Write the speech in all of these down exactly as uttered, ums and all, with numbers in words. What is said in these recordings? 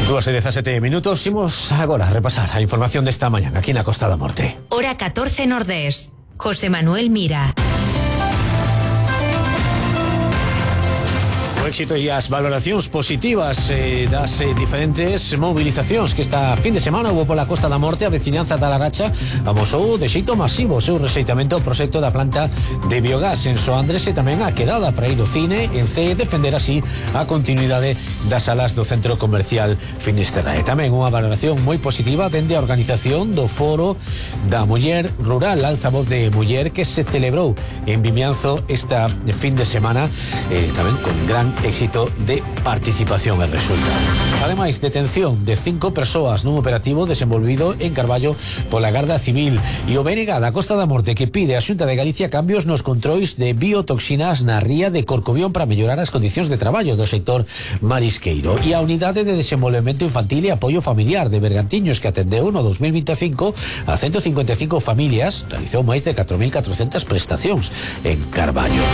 Dúas e dezasete minutos. Imos agora a repasar a información desta mañá aquí na Costa da Morte. Hora catorce Nordés. José Manuel Mira. O éxito e as valoracións positivas eh, das eh, diferentes movilizacións que esta fin de semana hubo pola Costa da Morte. A veciñanza da Laracha amosou de xeito masivo o seu rexeitamento ao proxecto da planta de biogás en Soandres e tamén a quedada para ir ao cine en C e defender así a continuidade das salas do centro comercial Finisterra. E tamén unha valoración moi positiva dende a organización do Foro da Muller Rural, Altavoz de Muller, que se celebrou en Vimianzo esta fin de semana, eh, tamén con gran éxito de participación e resultado. Ademais, detención de cinco persoas nun operativo desenvolvido en Carballo pola Garda Civil e o B N G da Costa da Morte que pide a Xunta de Galicia cambios nos controis de biotoxinas na ría de Corcobión para mellorar as condicións de traballo do sector marisqueiro. E a Unidade de Desenvolvemento Infantil e Apoio Familiar de Bergantiños, que atendeu no dos mil veinticinco a ciento cincuenta e cinco familias, realizou máis de catro mil catrocentas prestacións en Carballo.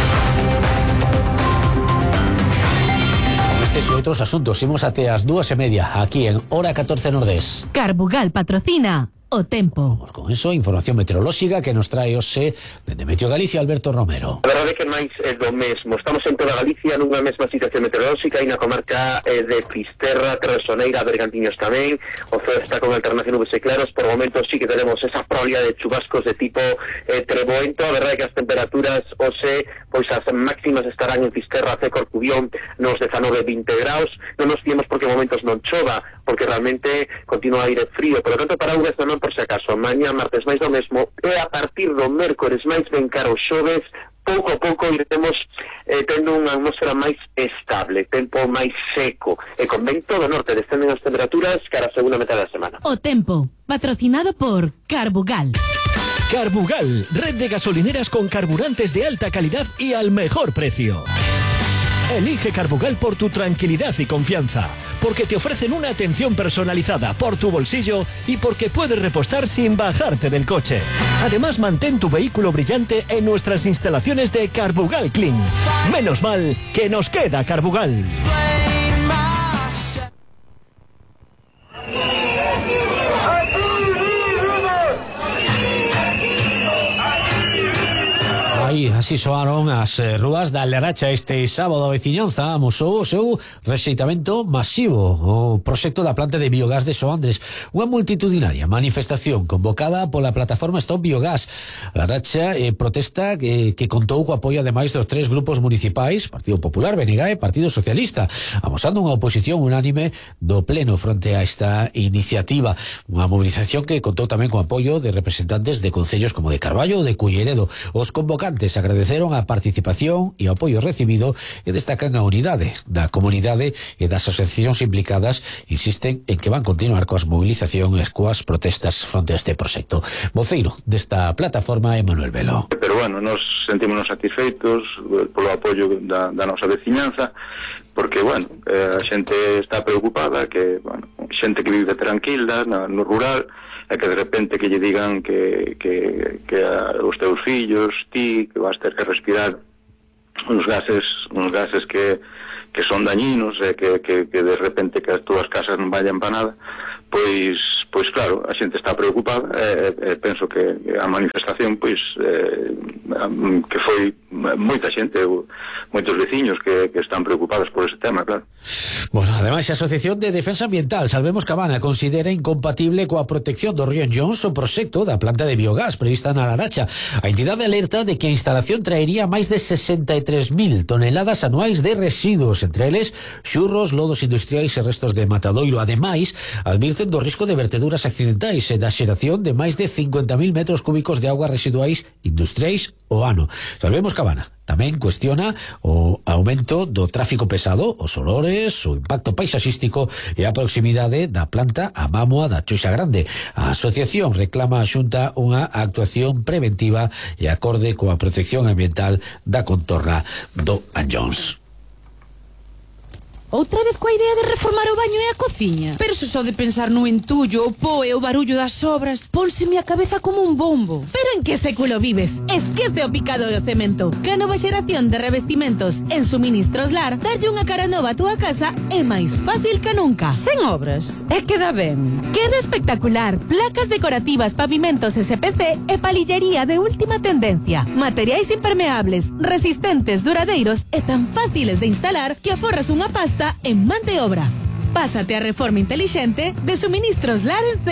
Estes e outros asuntos imos até as dúas e media aquí en Hora catorce Nordés. Carbugal patrocina o tempo. Vamos con eso, información meteorolóxica que nos trae hoxe dende Meteo Galicia, Alberto Romero. A verdade é que máis é do mesmo. Estamos en toda Galicia nunha mesma situación meteorolóxica e na comarca eh, de Fisterra, Terresoneira, Bergantiños tamén. O ceo está con alternación nubes e claros. Por momentos sí que tenemos esa probabilidade de chubascos de tipo eh, treboento. A verdade é que as temperaturas hoxe, pois as máximas estarán en Fisterra, C, Corcubión, nos dezanove a vinte graus. Non nos fiemos porque momentos non chova, porque realmente continua aire frío. Por lo tanto, para Uves non por se acaso. Mañá, martes, máis do mesmo. E a partir do mércores máis ben caro xoves, pouco a pouco iremos eh, tendo unha atmosfera máis estable, tempo máis seco. E con vento do norte descenden as temperaturas cara a segunda metade da semana. O tempo, patrocinado por Carbugal. Carbugal, red de gasolineras con carburantes de alta calidad y al mejor precio. Elige Carbugal por tu tranquilidad y confianza, porque te ofrecen una atención personalizada por tu bolsillo y porque puedes repostar sin bajarte del coche. Además, mantén tu vehículo brillante en nuestras instalaciones de Carbugal Clean. Menos mal que nos queda Carbugal. Aí, así soaron as eh, rúas da Laracha este sábado. A veciñanza amosou o seu rexeitamento masivo o proxecto da planta de biogás de Soandres, unha multitudinaria manifestación convocada pola plataforma Stop Biogás. A Laracha eh, protesta que, que contou co apoio ademais dos tres grupos municipais, Partido Popular, B N G e Partido Socialista, amosando unha oposición unánime do pleno fronte a esta iniciativa. Unha movilización que contou tamén co apoio de representantes de concellos como de Carballo ou de Culleredo. Os convocantes agradeceron a participación e o apoio recibido e destacan a unidade da comunidade e das asociacións implicadas. Insisten en que van continuar coas movilizacións e coas protestas fronte a este proxecto. Voceiro desta plataforma é Manuel Velo. Pero bueno, nos sentímonos satisfeitos polo apoio da, da nosa veciñanza, porque, bueno, eh, a xente está preocupada, que, bueno, xente que vive tranquila na, no rural, e que de repente que lle digan que, que, que a, os teus fillos, ti, que vas ter que respirar uns gases uns gases que, que son dañinos, e que, que, que de repente que as túas casas non vayan para nada, pois, pois claro, a xente está preocupada, e, e penso que a manifestación, pois, eh, que foi moita xente, moitos veciños que, que están preocupados por ese tema, claro. Bueno, ademais a Asociación de Defensa Ambiental Salvemos Cabana considera incompatible coa protección do río Enllóns o proxecto da planta de biogás prevista na Laracha. A entidade alerta de que a instalación traería máis de sesenta e tres mil toneladas anuais de residuos, entre eles xurros, lodos industriais e restos de matadoiro. Ademais, advirten do risco de verteduras accidentais e da xeración de máis de cincuenta mil metros cúbicos de augas residuais industriais o ano. Salvemos Cabana tamén cuestiona o aumento do tráfico pesado, os olores, o impacto paisaxístico e a proximidade da planta a Mámoa da Choixa Grande. A asociación reclama a Xunta unha actuación preventiva e acorde coa protección ambiental da contorna do Anllóns. outra vez coa idea de reformar o baño e a cociña. Pero se só de pensar no entullo, o po e o barullo das obras, pónseme a cabeza como un bombo. Pero en que século vives? Esquece o picado do cemento. Que a nova xeración de revestimentos en Suministros Lar darlle unha cara nova a túa casa é máis fácil que nunca. Sen obras, é que dá ben. Queda espectacular. Placas decorativas, pavimentos S P C e palillería de última tendencia. Materiais impermeables, resistentes, duradeiros e tan fáciles de instalar que aforras unha pasta en man de obra. Pásate a reforma inteligente de Suministros Lar en C.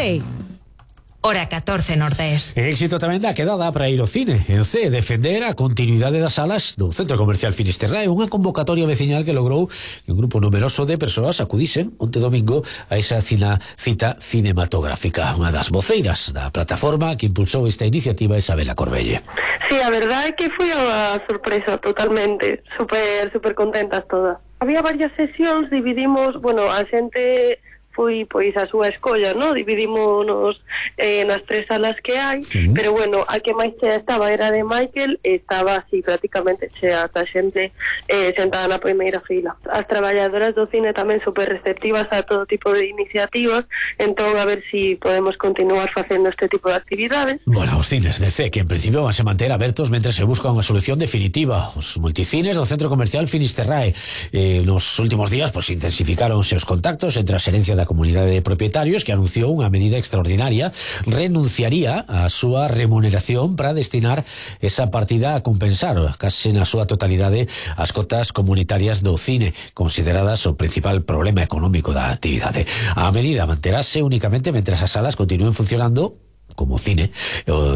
Hora catorce Nordés. Éxito tamén da quedada para ir ao cine. En C, defender a continuidade das salas do Centro Comercial Finisterrae, unha convocatoria veciñal que logrou que un grupo numeroso de persoas acudisen onte domingo a esa cina, cita cinematográfica. Unha das voceiras da plataforma que impulsou esta iniciativa é Isabela Corbelle. Sí, a verdade é que foi unha sorpresa totalmente, super, super contentas todas. Había varias sesións, dividimos, bueno, a xente foi pois a súa escolla, ¿no? Dividímonos eh, nas tres salas que hai, uh-huh. Pero bueno, a que máis chea estaba era de Michael, estaba así prácticamente chea a xente eh, sentada na primeira fila. As traballadoras do cine tamén super receptivas a todo tipo de iniciativas, entón a ver si podemos continuar facendo este tipo de actividades. Bueno, os cines de C, que en principio van a manter abertos mentre se busca unha solución definitiva. Os multicines do Centro Comercial Finisterrae. Eh, nos últimos días, pues, intensificáronse os contactos entre a xerencia da comunidade de propietarios, que anunciou unha medida extraordinaria, renunciaría a súa remuneración para destinar esa partida a compensar case na súa totalidade as cotas comunitarias do cine, consideradas o principal problema económico da actividade. A medida manterase únicamente mentras as salas continúen funcionando como cine.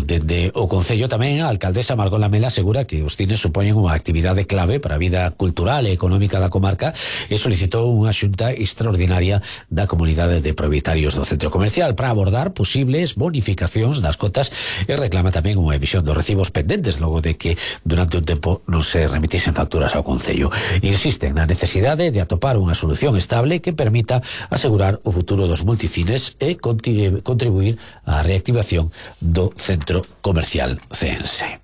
Dende o Concello tamén a alcaldesa Margot Lamela asegura que os cines supoñen unha actividade clave para a vida cultural e económica da comarca e solicitou unha xunta extraordinaria da comunidade de propietarios do centro comercial para abordar posibles bonificacións das cotas e reclama tamén unha emisión dos recibos pendentes logo de que durante un tempo non se remitisen facturas ao Concello. Insisten na necesidade de atopar unha solución estable que permita asegurar o futuro dos multicines e contribuir á reactivación do Centro Comercial Ceense.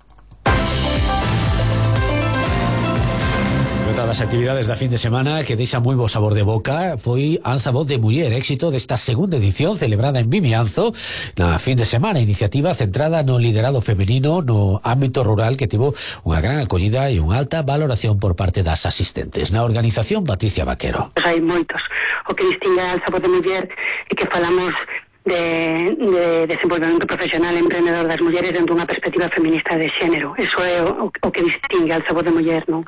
Outra das actividades da fin de semana que deixa moi bo sabor de boca foi Alza Voz de Muller, éxito desta segunda edición celebrada en Vimianzo na fin de semana, iniciativa centrada no liderado femenino no ámbito rural que tivo unha gran acollida e unha alta valoración por parte das asistentes. Na organización, Patricia Vaquero. Pues hai moitos. O que distingue a Alza Voz de Muller é que falamos de, de desenvolvemento profesional e emprendedor das mulleres dentro dunha perspectiva feminista de xénero. Eso é o, o que distingue a Alza Voz de Muller, non?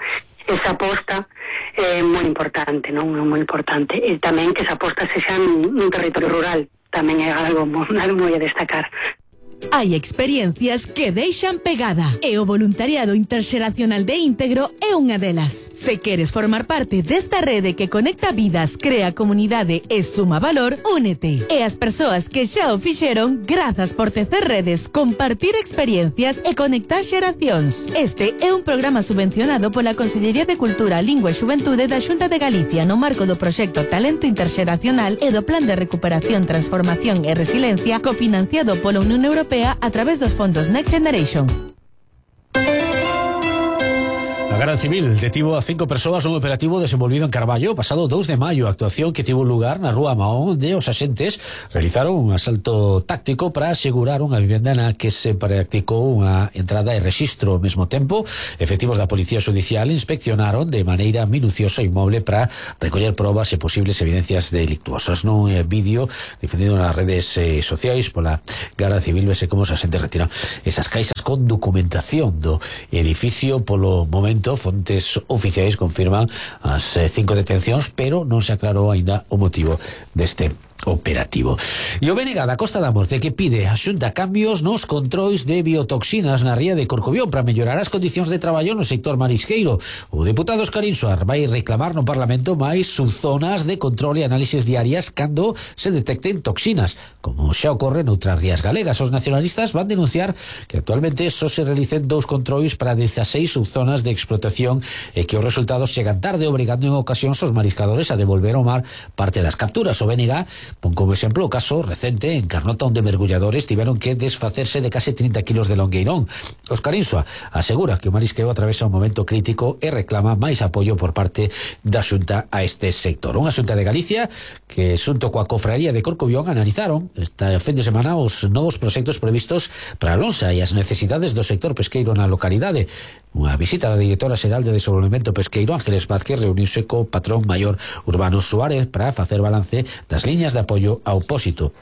Esa aposta é moi importante, non? Moi importante. E tamén que esa aposta sexa nun territorio rural, tamén é algo moi, moi a destacar. Hai experiencias que deixan pegada e o voluntariado interxeracional de Íntegro é unha delas. Se queres formar parte desta rede que conecta vidas, crea comunidade e suma valor, únete. E as persoas que xa o fixeron, grazas por tecer redes, compartir experiencias e conectar xeracións. Este é un programa subvencionado pola Consellería de Cultura, Lingua e Xuventude da Xunta de Galicia no marco do proxecto Talento Interxeracional e do Plan de Recuperación, Transformación e Resiliencia cofinanciado pola Unión Europea a través dos fondos Next Generation. A Garda Civil detivo a cinco persoas nun operativo desenvolvido en Carballo pasado dous de maio, actuación que tivo lugar na Rúa Mahón, onde os axentes realizaron un asalto táctico para asegurar unha vivenda na que se practicou unha entrada e rexistro. Ao mesmo tempo, efectivos da Policía Judicial inspeccionaron de maneira minuciosa o inmoble para recoller probas e posibles evidencias delictuosas. Nun eh, vídeo difundido nas redes eh, sociais pola Garda Civil vese como os axentes retiran esas caixas con documentación do edificio. Polo momento, fontes oficiais confirman as eh, cinco detencións, pero non se aclarou aínda o motivo deste operativo. E o B N G da Costa da Morte que pide a Xunta cambios nos controis de biotoxinas na ría de Corcobión para mellorar as condicións de traballo no sector marisqueiro. O deputado Óscar Insuar vai reclamar no Parlamento máis subzonas de control e análisis diarias cando se detecten toxinas, como xa ocorre noutras rías galegas. Os nacionalistas van denunciar que actualmente só se realicen dous controis para dezaseis subzonas de explotación e que os resultados chegan tarde, obrigando en ocasións os mariscadores a devolver ao mar parte das capturas. O B N G Pon como exemplo o caso recente en Carnota, onde mergulladores tiveron que desfacerse de case trinta kilos de longueirón. Óscar Insua asegura que o marisqueo atravesa un momento crítico e reclama máis apoio por parte da Xunta a este sector. Unha Xunta de Galicia que, xunto coa Cofraría de Corcubión, analizaron esta fin de semana os novos proxectos previstos para a lonxa e as necesidades do sector pesqueiro na localidade. Unha visita da directora xeral de Desenvolvemento Pesqueiro, Ángeles Vázquez, reuniuse co patrón maior Urbano Suárez para facer balance das liñas de apoio ao pósito.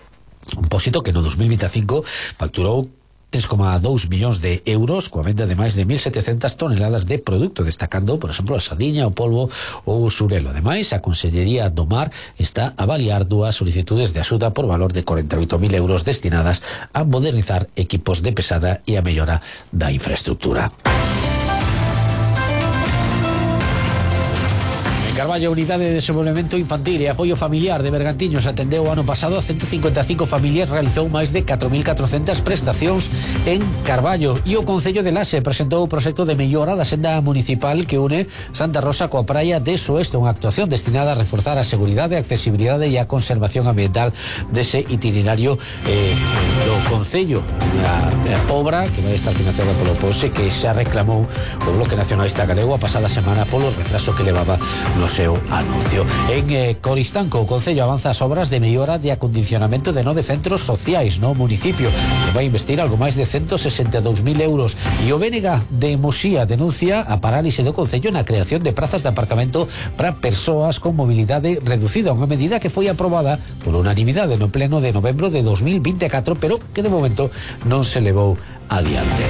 Un pósito que no dos mil veinticinco facturou tres coma dous millóns de euros coa venda de máis de mil setecentas toneladas de produto, destacando, por exemplo, a sardiña, o polvo ou o xurelo. Ademais, a Consellería do Mar está a avaliar dúas solicitudes de axuda por valor de corenta e oito mil euros destinadas a modernizar equipos de pesada e a mellora da infraestructura. Carballo, Unidade de Desenvolvemento Infantil e Apoio Familiar de Bergantiños, atendeu o ano pasado a ciento cincuenta e cinco familias, realizou máis de catro mil catrocentas prestacións en Carballo, e o Concello de Laxe presentou o proxecto de mellora da senda municipal que une Santa Rosa coa praia de Soeste, unha actuación destinada a reforzar a seguridade, a accesibilidade e a conservación ambiental dese itinerario eh, do Concello. Unha obra que vai estar financiada polo P O S E, que xa reclamou o Bloque Nacionalista Galego a pasada semana polo retraso que levaba no seu anuncio. En eh, Coristanco, o Concello avanza as obras de mellora de acondicionamento de nove centros sociais no municipio, que vai investir algo máis de ciento sesenta e dous mil euros. E o B N G de Muxía denuncia a parálise do Concello na creación de prazas de aparcamento para persoas con mobilidade reducida, unha medida que foi aprobada por unanimidade no pleno de novembro de dos mil vinte e catro, pero que de momento non se levou adiante.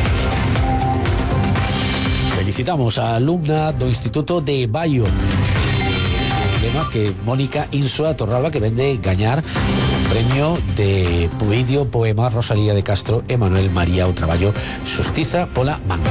Felicitamos a alumna do Instituto de Baio, lema que Mónica Insua Torralba, que vende gañar o premio de vídeo poema Rosalía de Castro e Manuel María o traballo Xustiza pola Man.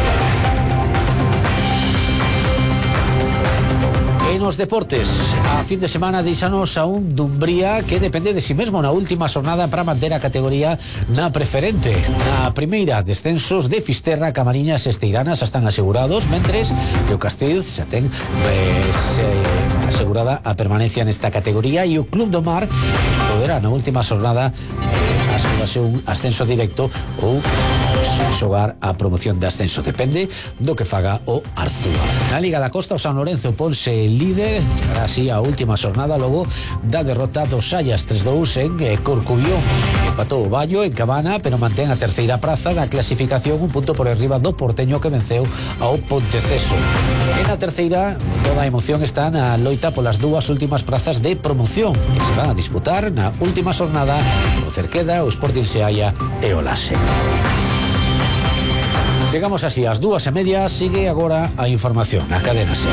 En os deportes, a fin de semana deixanos a un Dumbría que depende de si mesmo na última xornada para manter a categoría na preferente. Na primeira, descensos de Fisterra, Camariñas e Esteiranas están asegurados, mentres que o Castil xa ten pues, eh, asegurada a permanencia nesta categoría, e o Club do Mar poderá na última xornada eh, asegurarse un ascenso directo ou xogar a promoción de ascenso. Depende do que faga o Arzúa. Na Liga da Costa, o San Lorenzo ponse líder, chegará así a última xornada logo da derrota dos Xallas tres dous en eh, Corcubión. Empatou o Baio en Cabana, pero mantén a terceira praza da clasificación, un punto por arriba do Porteño, que venceu ao Ponteceso. En a terceira, toda a emoción está na loita polas dúas últimas prazas de promoción, que se van a disputar na última xornada o Cerqueda, o Sporting Seaia e o Laxe. Chegamos así ás dúas e media. Sigue agora a información na Cadena SER.